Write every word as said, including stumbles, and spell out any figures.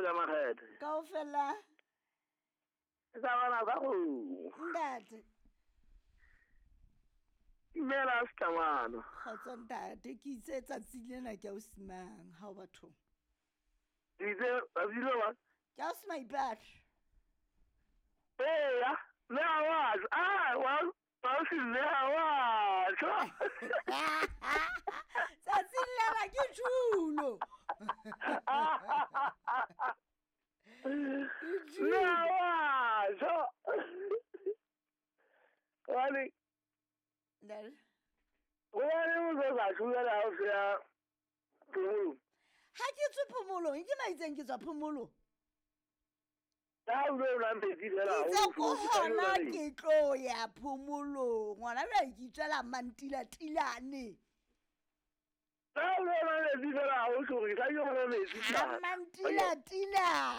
ka makgethe. Kaofela. Ke sa bana sa kgomo. Ntate. Dumela Setlamano. Kgotso ntate, ke itse tsatsi lena ke ausi mang ha o bathong? Ke itse tsatsi le wa? Ke ausi Maipata. Eya, mme ha wa tjho. Ah, wa ausi mme ha wa tjho. Tsatsing lena ke tjhulo. Mme ha wa tjho. Hobane Ntate. Hobane o tlo sa tjhulela ha o se ya phomolong. Ha ke tswe phomolong, ke maitseng ke tswa phomolong. Ha o lo nwa metsi fela, Ke ha o itse ko tlo tjhulela hona neng? ke tlo ya phomolong. Ngwana jwale ke itswela mantilatilane. Ha o lo nwa metsi fela, ha o tjho hore ke tla yo nwa metsi Ha mara. mantilatilane.